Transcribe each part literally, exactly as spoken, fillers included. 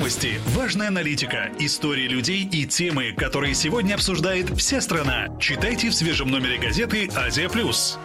новости, важная аналитика, истории людей и темы, которые сегодня обсуждает вся страна. Читайте в свежем номере газеты «Азия Плюс».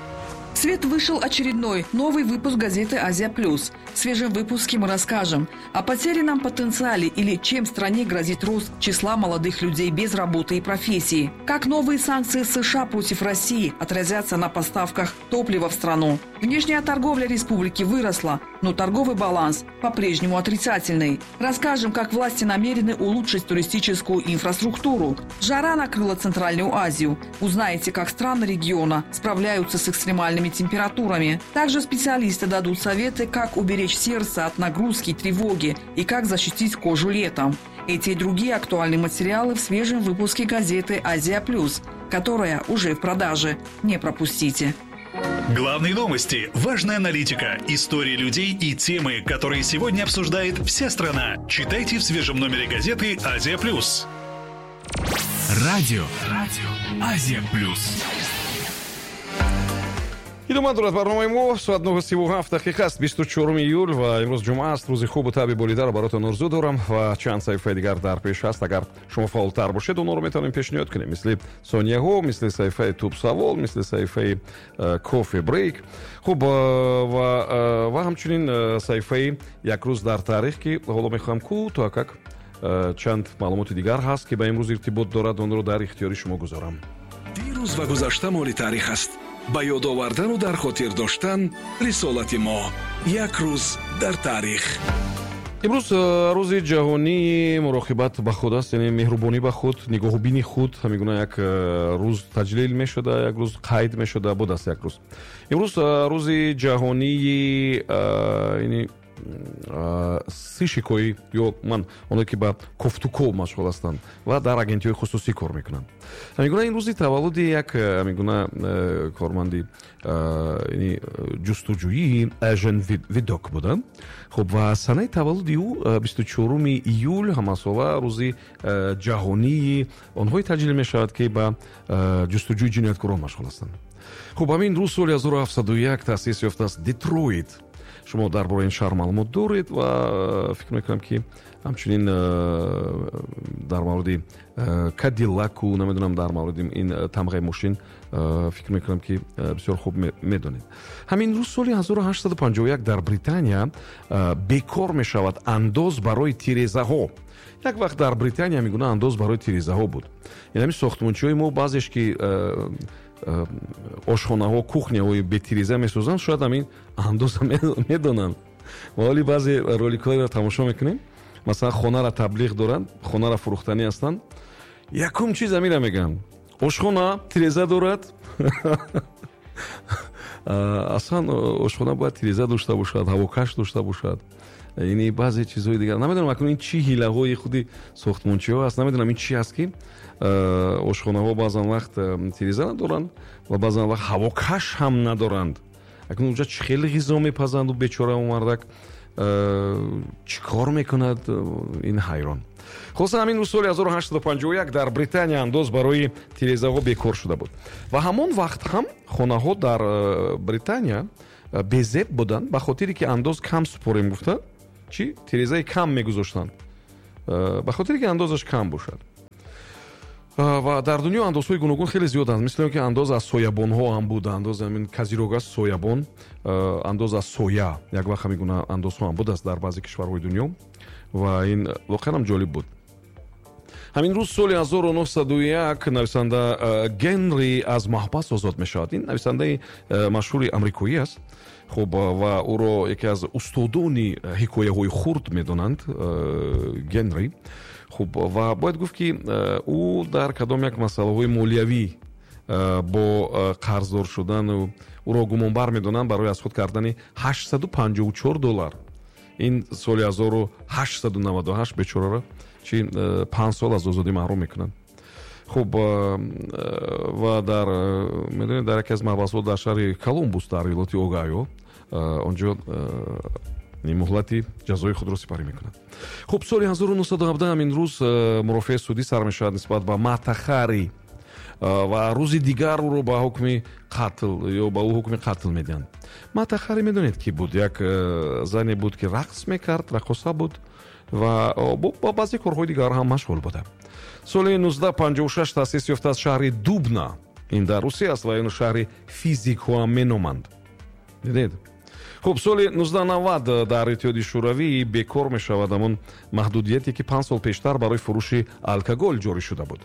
В свет вышел очередной новый выпуск газеты «Азия Плюс». В свежем выпуске мы расскажем о потерянном потенциале или чем стране грозит рост числа молодых людей без работы и профессии. Как новые санкции США против России отразятся на поставках топлива в страну. Внешняя торговля республики выросла, но торговый баланс по-прежнему отрицательный. Расскажем, как власти намерены улучшить туристическую инфраструктуру. Жара накрыла Центральную Азию. Узнаете, как страны региона справляются с экстремальными температурами. Также специалисты дадут советы, как уберечь сердце от нагрузки и тревоги и как защитить кожу летом. Эти и другие актуальные материалы в свежем выпуске газеты «Азия Плюс», которая уже в продаже. Не пропустите. Главные новости, важная аналитика, истории людей и темы, которые сегодня обсуждает вся страна. Читайте в свежем номере газеты «Азия Плюс». Радио, Радио, Азия Плюс. Идома дорад барномаи мо. Соат нӯҳу сиву ҳафт дақиқа аст, бисту чаҳоруми июл ва имрӯз ҷумъа аст. Рӯзи хубу табъи болидаро баротон орзу дорам ва чанд саҳифаи дигар дар пеш аст. Агар шумо фаъолтар бошед, онҳоро метавонем пешниҳод кунем, мисли сонияҳо, мисли саҳифаи тубсавол, мисли саҳифаи э, кофе брейк. Хуб, э, ва э, ва ҳамчунин саҳифаи як рӯз дар таърих, ки ҳоло мехоҳам кӯтоҳакак чанд маълумоти дигар ҳаст, ки ба имрӯз иртибот дорад, онро дар ихтиёри шумо гузорам. Дирӯз ва гузашта моли таърих аст. Ба ёд овардану дар хотир доштан рисолати мо. Як рӯз дар таърих. Имрӯз э, рӯзи ҷаҳонии муроқибат ба худ аст, яъне меҳрубонӣ ба худ, нигоҳубини худ. Ҳамин гуна як э, рӯз таҷлил мешуда, як рӯз қайд мешуда будааст як рӯз. Имрӯз э, рӯзи ҷаҳонии яъне сыщик ҳои ё ман оное, ки ба кофтуков машғул ҳастанд ва дар агентиҳои хусусӣ кор мекунанд. Ҳамин гуна ин рӯзи таваллуди як ҳамин гуна корманди ҷустуҷӯии Эжен Видок буданд. Хуб, ва санаи таваллуди ӯ бисту чаҳоруми июл ҳамасола рӯзи ҷаҳонии онҳое таҷлил мешавад, ки ба ҷустуҷӯи ҷинояткорон машғул ҳастанд. Хуб, ҳамин рӯз соли ҳазору ҳафтсаду як таъсис ёфтааст Детройт. Шумо дар бораи ин шаҳр маълумот доред ва фикр мекунам, ки ҳамчунин дар мавриди Кадиллаку, намедонам, дар мавриди ин тамғаи мошин фикр мекунам, ки бисёр хуб медонед. Ҳамин рӯз соли ҳазору ҳаштсаду панҷоҳу як дар Британия бекор мешавад андоз барои тирезаҳо. Як вақт дар Британия ҳамин гуна андоз барои тирезаҳо буд. Ин ҳамин сохтмончиҳои мо баъзеш, ки ошхонаҳо, кухня ҳои бетиреза месозанд, шояд ҳамин андоза медонанд. Ва ҳоли баъзе роликҳоеро тамошо мекунем, масалан, хонара таблиғ доранд, хонара фурӯхтанӣ ҳастанд, якум чиз ҳамира мегӯянд: ошхона тиреза дорад? Аслан ошхона бояд тиреза дошта бошад, ҳавокаш дошта бошад, ини баъзе чизҳои дигар. Намедонам, акнун ин чӣ ҳилаҳои худи сохтмончиҳо аст, намедонам, ин чӣ аст, ки ошхонаҳо баъзан вақт тиреза надоранд ва баъзан вақт ҳавокаш ҳам надоранд. Акнун унҷа чӣ хеле ғизо мепазанду бечора мардак чӣ кор мекунад, ин ҳайрон. Хулоса, ҳамин рӯз соли ҳазору ҳаштсаду панҷоҳу як дар Британия андоз барои тирезаҳо бекор шуда буд ва ҳамон вақт ҳам хонаҳо дар Британия безеб буданд. Ба хотире ки андоз кам супорем гуфта, чӣ тирезаи кам мегузоштанд, ба хотире ки андозаш кам бошад. Ва дар дунё андозҳои гуногун хеле зиёданд, мисли он ки андоз аз соябонҳо ҳам буд, андоз ҳамин козырёк аст, соябон, андоз аз соя. Як вақт ҳамин гуна андозҳо ҳам будааст дар баъзе кишварҳои дунё ва ин воқеан ҳам ҷолиб буд. Ҳамин рӯз соли ҳазору нӯҳсаду як нависанда Генри аз маҳбас озод мешавад. Ин нависандаи машҳури амрикоӣ аст. Хуб, ва ӯро яке аз устодони ҳикояҳои хурд медонанд, Генри. Хуб, ва бояд гуфт, ки ӯ дар кадом як масъалаҳои молиявӣ бо қарздор шудан ӯро гумонбар медонанд барои аз худ кардани ҳаштсаду панҷоҳу чор доллар. Ин соли ҳазору ҳаштсаду наваду ҳашт бечораро чи панҷ сол аз озодӣ маҳрум мекунанд. Хуб, ва дар, медонед, дар яке аз маҳбасҳо дар шаҳри Колумбус дар иёлоти Огайо онҷо муҳлати ҷазои худро сипарӣ мекунад. Хуб, соли ҳазору нӯҳсаду ҳабдаҳ ҳамин рӯз мурофиаи судӣ сар мешавад нисбат ба Мата Хари. Ва рӯзи дигар ӯро ба ҳукми қатл ё ба ӯ ҳукми қатл медиҳанд. Мата Хари медонед, ки буд? Як зане буд, ки рақс мекард, раққоса буд ва ба баъзе корҳои дигар ҳам машғул буда. Соли нуздаҳ панҷоҳу шаш таъсис ёфтааст шаҳри Дубна. Ин дар Русия аст ва ин шаҳри физикҳоам меноманд. Дидед? Хуб, соли нуздаҳ навад дар Иттиҳоди Шӯравӣ бекор мешавад ҳамон маҳдудияте, ки панҷ сол пештар барои фурӯши алкоголь ҷорӣ шуда буд.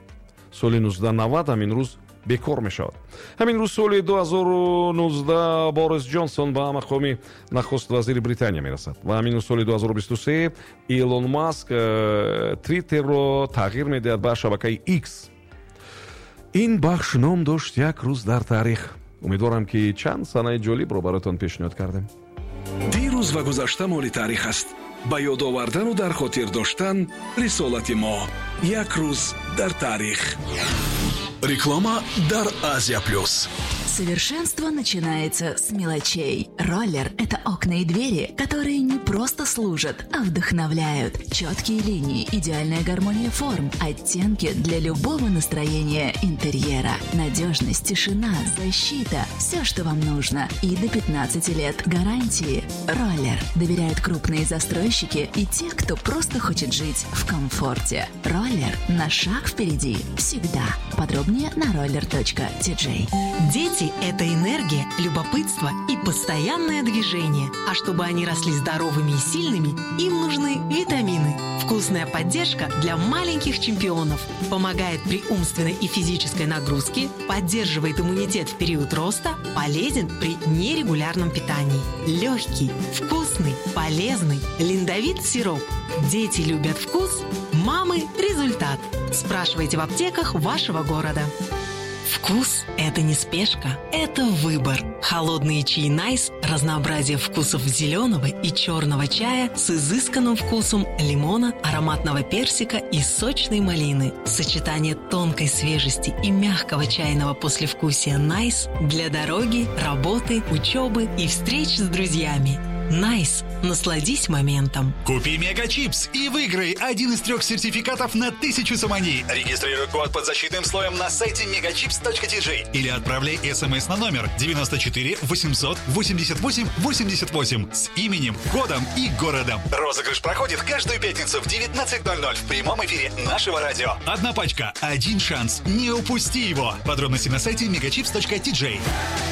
Соли нуздаҳ навад ҳамин рӯз бекор мешавад. Ҳамин рӯз, соли ду ҳазору нуздаҳ, Борис Ҷонсон ба мақоми нахуст вазири Британия мерасад. Ва ҳамин рӯз, соли ду ҳазору бисту се, Илон Маск э, Твиттерро тағйир медиҳад ба шабакаи X. Ин бахш ном дошт «Як рӯз дар таърих». Умедворам, ки чанд санаи ҷолибро бароятон пешниҳод кардем. Дирӯз ва гузашта моли таърих аст. Ба ёд овардану дар хотир доштан рисолати мо. «Як рӯз дар таърих». Реклама дар Азия Плюс. Совершенство начинается с мелочей. Роллер – это окна и двери, которые не просто служат, а вдохновляют. Четкие линии, идеальная гармония форм, оттенки для любого настроения интерьера. Надежность, тишина, защита – все, что вам нужно. И до пятнадцати лет гарантии. Роллер доверяют крупные застройщики и те, кто просто хочет жить в комфорте. Роллер на шаг впереди всегда. Подробнее на roller.tj. Дети – это энергия, любопытство и постоянное движение. А чтобы они росли здоровыми и сильными, им нужны витамины. Вкусная поддержка для маленьких чемпионов. Помогает при умственной и физической нагрузке, поддерживает иммунитет в период роста, полезен при нерегулярном питании. Легкий, вкусный, полезный. Линдовит сироп. Дети любят вкус, мамы – результат. Спрашивайте в аптеках вашего города. Вкус – это не спешка, это выбор. Холодные чаи «Найс» – разнообразие вкусов зеленого и черного чая с изысканным вкусом лимона, ароматного персика и сочной малины. Сочетание тонкой свежести и мягкого чайного послевкусия «Найс» для дороги, работы, учебы и встреч с друзьями. «Найс». Насладись моментом. Купи Мегачипс и выиграй один из трех сертификатов на тысячу сомони. Регистрируй код под защитным слоем на сайте megachips.tj или отправляй смс на номер девяносто четыре восемьсот восемьдесят восемь восемьдесят восемь с именем, годом и городом. Розыгрыш проходит каждую пятницу в девятнадцать ноль ноль в прямом эфире нашего радио. Одна пачка, один шанс. Не упусти его. Подробности на сайте megachips.tj.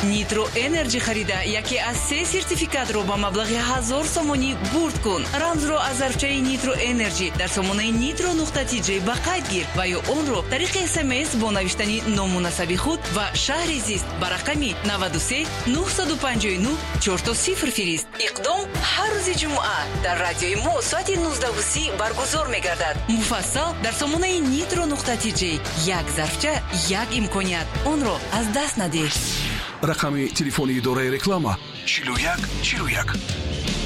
Нитро Энерджи харида яке аз се сертификатро ба маблағи ҳазор сомонӣ бурд кун. Рамзро аз зарфчаи Нитро Энерджи дар сомонаи нитро нуқта тиҷ ба қайд гир ва ё онро тариқи смс бо навиштани ному насаби худ ва шаҳри зист ба рақами наваду се нуҳсаду панҷоҳу нӯҳ чорто сифр фирист. Иқдом ҳар рӯзи ҷумъа дар радиои мо соати нуздаҳу си баргузор мегардад. Муфассал дар сомонаи нитро нуқта тиҷ. Як зарфча, як имконият, онро аз даст надеҳ. Рақами телефони идораи реклама: чилу як чилу як.